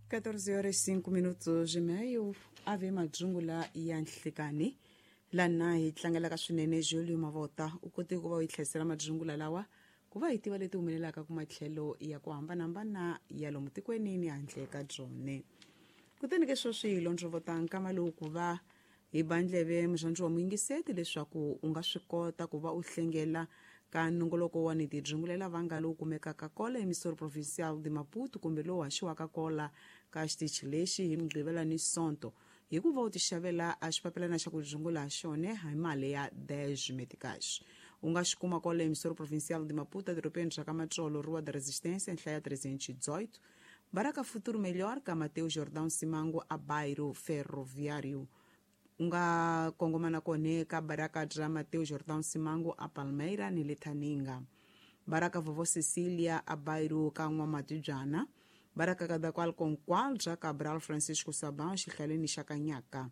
14 horas 5 minutos e meio, ave madzungula ya nhlikani lana hi tlangelaka swinene Julio Mavota u kote ku va u yi tlherisela madzungula lawa ku va hi tiva leti humelelaka ku matlhelo ya ku hambanahambana ya lomu tikweni ni handle ka byone. Kutani ke sweswi hi londzovota nkama lowu ku va hi ba ndleve murhandzi wa muyingiseti leswaku u nga swi kota ku va u hlengela ka nongoloko wa ni tidzungulela vanga lowu kumekaka kola emisoro provincial de Maputo kumbe lowu haxiwaka kola ka xitichi lexi hi Mugqivela ni Sonto hi ku va u tixavela a xipapilana xa ku dzungula ha xona hi mali ya 10 meticais. U nga xi kuma kola emisoro provincial de Maputo edorobeni ra ka Matsolo, Rua da Resistência, nhlaya 318, Baraka Futuro Melhor ka Mateo Jordão Simango a Bairro Ferroviário. U nga kongoma na kone ka baraka bya Mateo Jordão Simango a Palmeira ni le Thaninga, baraka Vovó Cecília a Bairro ka N'wamatibyana, baraka Kadakwal bya Cabral Francisco Sabão xihlaleni xa Kanyaka,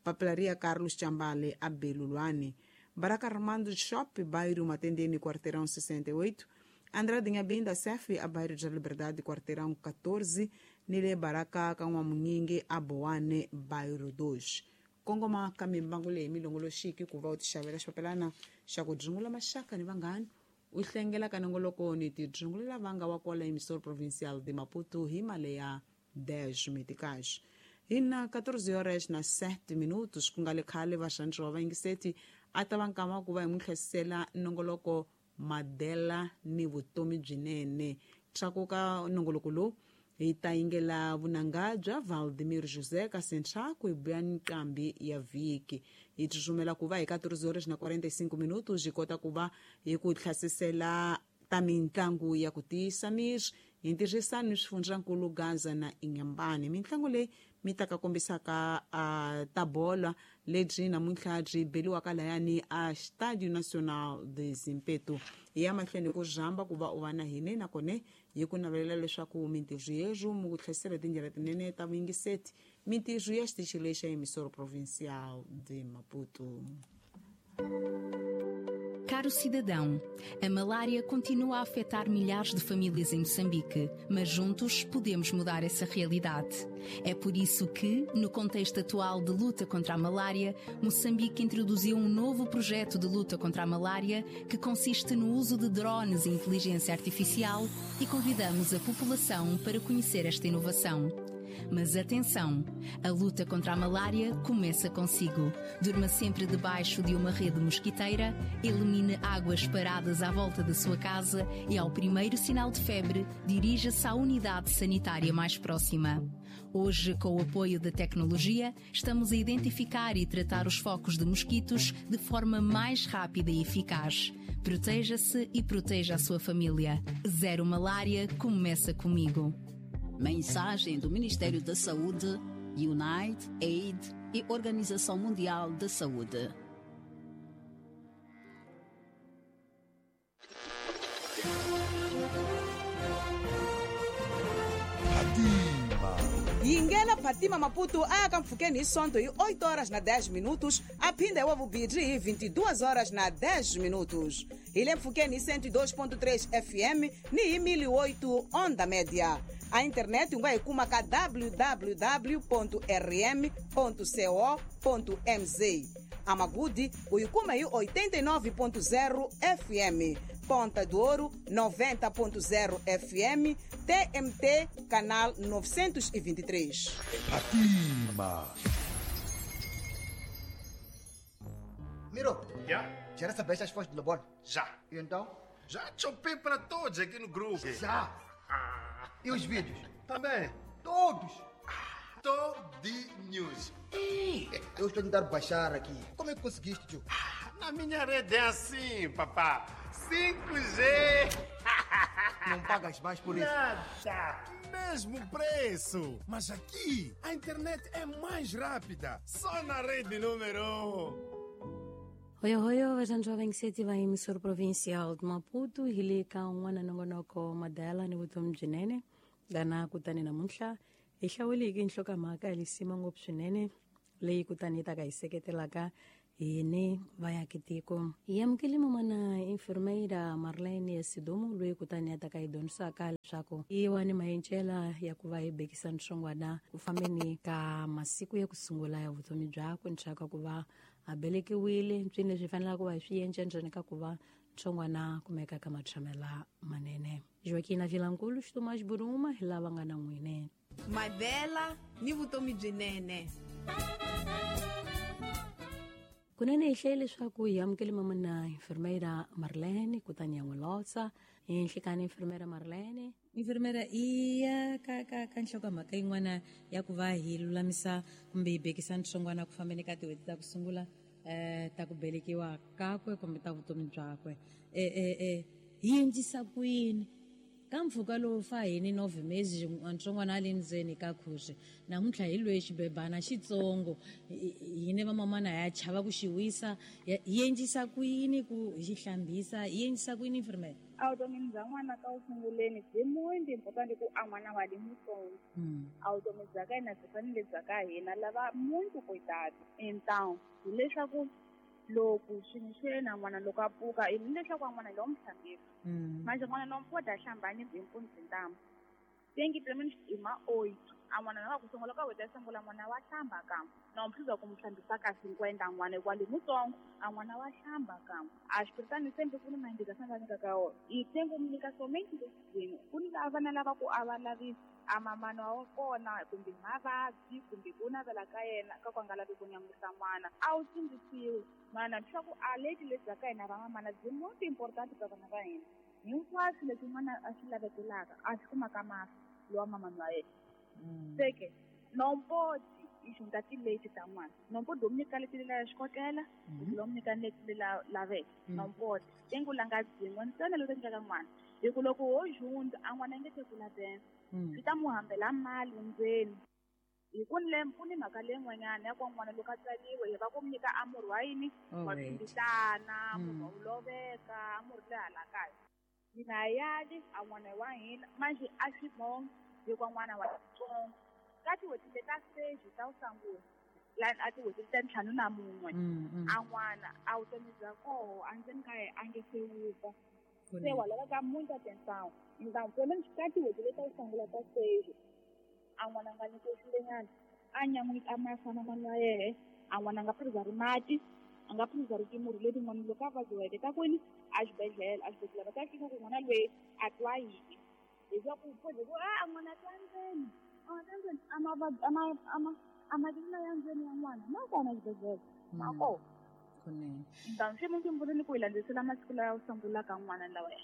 Papelaria Carlos Chambale a Belulwane, baraka Armando Shop Bairro Matendeni quarteirão 68, Andrade Nhabinda Sef a Bairro de Liberdade quarteirão 14, ni le baraka ka N'wamunyingi a Boane Bairro 2. Kongoma ka mimbangu leyi milongoloxiki ku va u tixavela xipapilana xa ku dzungula maxaka ni vanghani u hlengela ka nongoloko ni tidzungulela vanga wa kwala emisoro provincial de Maputo hi mali ya 10 meticais. Hi na 14 horas na 7 minutos ku nga le khale vaxandzi wa vayingiseti a ta va nkama ku va hi n'wi hlasela nongoloko Madela ni vutomi byinene. Tlakuka nongoloko lowu hi ta yingela vunanga bya Valdemir José ka Sentraco hi buya nqambi ya vhiki. Hi tsutsumela ku va hi 14 horas na 45 minutos hi kota ku va hi ku hlasisela ta mintlangu ya ku tiyisa miri hi ntirhisano ni swifundzankulu Gaza na Inhambane. Mintlangu leyi mi ta ka kombisaka ta bola lebyi namuntlha byi beliwaka layani a Estádio Nacional de Zimpeto. Hi ya mahlweni ku rhamba ku va u va na hine nakona hi ku navelela leswaku mintirho yerhu mi ku tlherisela tindlela tinene ta vuyingiseti mintirho ya xitichi lexi xa emisoro provincial de Maputo. Caro cidadão, a malária continua a afetar milhares de famílias em Moçambique, mas juntos podemos mudar essa realidade. É por isso que, no contexto atual de luta contra a malária, Moçambique introduziu um novo projeto de luta contra a malária que consiste no uso de drones e inteligência artificial e convidamos a população para conhecer esta inovação. Mas atenção, a luta contra a malária começa consigo. Durma sempre debaixo de uma rede mosquiteira, elimine águas paradas à volta da sua casa e, ao primeiro sinal de febre, dirija-se à unidade sanitária mais próxima. Hoje, com o apoio da tecnologia, estamos a identificar e tratar os focos de mosquitos de forma mais rápida e eficaz. Proteja-se e proteja a sua família. Zero Malária começa comigo. Mensagem do Ministério da Saúde, Unite, Aid e Organização Mundial da Saúde. Yingela Fatima Maputo a ka mpfhukeni hi Sonto hi 8 horas na 10 minutos a phinda hi wa vubirhi hi 22 horas na 10 minutos. Hi le mpfhukeni hi 102.3 FM ni hi 1008 onda média. A internet u nga yi kuma ka www.rm.co.mz. Amagudi u yi kuma hi 89.0 FM. Ponta do Ouro 90.0 FM, TMT canal 923. Fatima. Miro, Já? já recebeste as fotos do Lobon? Já. E então? Já chopei para todos aqui no grupo. Já. E os vídeos? Também. Todos. Todinhos. Eu estou a tentar baixar aqui. Como é que conseguiste, tio? Na minha rede é assim, papá. 5G. Não pagas mais por isso. Nada. Mesmo preço. Mas aqui a internet é mais rápida. Só na rede número 1. Hoyo hoyo vaxantswa vaingiseti va emissor provincial de Maputo hi le ka un'wana nongonoko madala ni vutomi byinene lana kutani namuntlha hi hlawuleke nhlokomhaka ya lisima ngopfu swinene leyi kutani yi ta ka hi seketelaka hine vaakatiko. Hi amukele man'wana enfermeira Marlene Sidumo loyi kutani a ta ka hi dyondzisaka. leswaku i wani mayencela ya ku va hi bekisa ntsongwana ku fambeni ka masiku ya ku sungula ya vutomi byakwe ndzhaku ku va a belekiwile ntswini leswi fanelaka ku va hi swi yenca ndzeni ka ku va ntsongwana kumeka ka matshamela manene. Joaquina Vilankulu Xitumax Buruma hi lava nga na n'wine. Madela ni vutomi byinene. Kunene hi hlaye leswaku hi amukele mamana enfermeira Marlene kutani ya n'wi lotsa. Hi nhlikani enfermeira Marlene. Enfermeira iya ka ka ka nhlokomhaka yin'wana ya ku va hi lulamisa kumbe hi bekisa ntsongwana ku fambeni ka tin'hweti ta ku sungula ta ku belekiwa kakwe kumbe ta vutomi byakwe. Hi endlisa ku yini ka mpfhuka lowu fa hini 9 mesi ntsongwana a le ndzeni ka khusi namuntlha hi loyi xibebana xitsongo hine vamamana ya chava ku xi wisa hi endlisa ku yini ku hi xi hlambisa hi endlisa ku yini enfermeira? A vutomini bya n'wana ka wu sunguleni byi muito important ku a n'wana wa le mutsongo. A vutomi bya ka hina byi fanele bya ka hina lava muito cuidado. Então hileswaku loko swi na n'wana loko a pfuka hileswaku a n'wana lowu mu hlambisa. Manje n'wana lowu pota hlambani hi mpundzu ntamu. Tem que pelo menos ima 8. A n'wana lowu ku sungula ka weta sungula n'wana wa hlamba kambe. Na mphiza ku muhlambisa ka 50 n'wana kwale mutsongo a n'wana wa hlamba kambe. A xipiritani sempre ku ni ma-indication va nyikaka wona. I tem ku nyika somente leswi ku ni vana lava ku a va lavi a mamana wa kona kumbe mavabyi kumbe ku navela ka yena ka ku a nga lavi ku nyan'wisa n'wana. A wu tsundzuxiwi n'wana leswaku a leti lebyi bya ka hina va mamana byi most important ka vana va hina. Hinkwaswo leswi n'wana a swi lavekelaka a swi kumaka mafi lowa mamana wa yena. Seke nompoti i xunta tileti ta n'wana. Nompoti u nyika leti lela ya xikotela, u nyika leti lela laveke. Nompoti tengu langa byin'we ntsena loko endleka n'wana. Hi ku loko ho junda a n'wana nge te kula bene. Swi ta mu hambela mali ndzeni. Hi ku ni ku ni mhaka leyin'wanyana ya ku n'wana loko a tswariwe hi va ku nyika a murhi wa yini wa tshwinditana, murhi wa wu loveka, a murhi le hala kaya. Hina yali a n'wana wa hina manje a swi bongi hikuva n'wana wa tsongo. Ka tin'hweti leta stage ta wu sungula la a tin'hweti ta 51 a n'wana a vutomi bya koho a ndzeni ka yena a nge se wupfa. Se wa laveka muito atenção. Então pelo menos ka tin'hweti leta wu sungula ta stage a n'wana nga nyikiwi xinyenyana a nyan'wisa a mafana n'wana wa yehe a n'wana nga phuzari mati a nga phuzari timurhi letin'wana loko a vabyiweke ta kwini a xibedhlele va ta fika ku n'wana loyi a twa yini leswaku pfuze ku a n'wana twa ndzeni a mavabyi a matimba ya ndzeni ya n'wana ma kona xibedhlele ma kona. Kunene. Então swi muntu mpfuleni ku hi landzisela masiku lawa sungulaka n'wana lawa ya.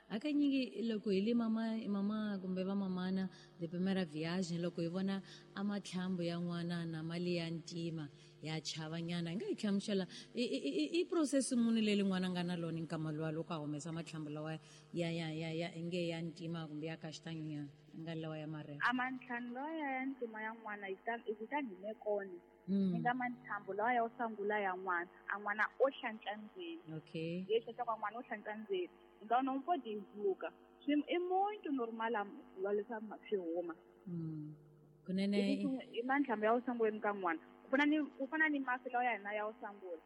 Hakanyingi loko hi le mama kumbe va mamana de primera viagem loko hi vona a matlhambu ya n'wana na mali ya ntima ya chavanyana hi nga hi hlamusela i process muni leyi n'wana nga na lona nkama luwa loko a humesa matlhambu lawa ya ya ya ya nge ya ntima kumbe ya kashitanyunyana nga lawa ya marele. A matlhambu lawa ya ntima ya n'wana hi ta hi mekona. Ni nga matlhambu lawa ya sungula ya n'wana a n'wana o hlantswa ndzeni. Okay. Leswi swa n'wana o hlantswa ndzeni. Então não pode julgar. É muito normal a swi huma. Kunene i matlhambu ya sungula ka n'wana. Ku fana ni mafi lawa ya hina ya sungula.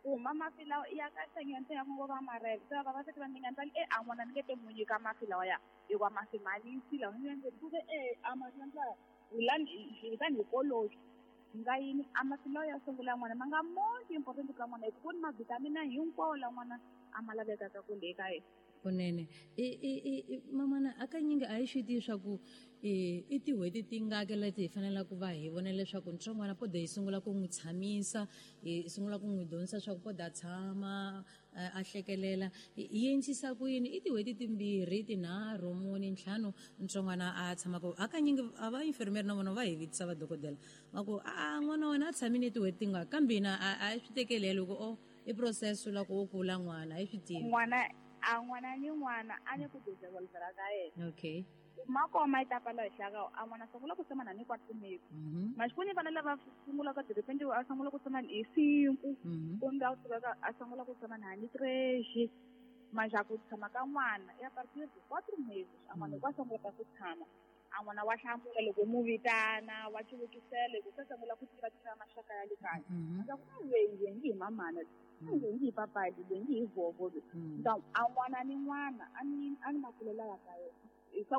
Ku huma mafi lawa ya ka sanyana ya ngo va marele. Se va va se va ninga ndzi a n'wana ni nge te munyi ka mafi lawa ya hikuva mafi malisi lawa ni ndzi ku a mafi lawa hi tani hi koloki. Nga yini a mafi lawa ya sungula n'wana ma nga most important ka n'wana hi ku ni ma-vitamin hinkwawo la n'wana a ma lavekaka ku le ka yena. Kunene mamana hakanyingi a hi swi tivi swa ku i tin'hweti tingaki leti hi faneleke ku va hi vona leswaku ntsongwana poda hi sungula ku n'wi tshamisa hi sungula ku n'wi dyondzisa swa ku poda tshama a hlekelela hi endlisa ku yini i tin'hweti 2 3 4 5 ntsongwana a tshamaka hakanyingi a va infirmeri na vona va hi vitisa va dokodela va ku a n'wana wa wena a tshamile tin'hweti tingaki kambe hina a hi swi tekeleli ku o i process la ku kula n'wana a hi swi tivi n'wana a n'wana ni n'wana a ni ku developera ka yena. Okay. Makoma yi ta pala henhla ka a n'wana sungula ku tshama na ni 4 meses. Maxikuni vana lava sungulaka de repente a sungula ku tshama hi 5 kumbe a suka a sungula ku tshama na ni 3 manje ku tshama ka n'wana ya partir de 4 meses a n'wana kwa sungula ku tshama a n'wana wa hlamula loko mu vitana wa chulukisela ku sungula ku tiva tiva maxaka ya le kaya. Ndza ku leyi ngi hi mamana ngi hi papa leyi ngi hi vovo. Então a n'wana ni n'wana a ni makulela ya ka yena.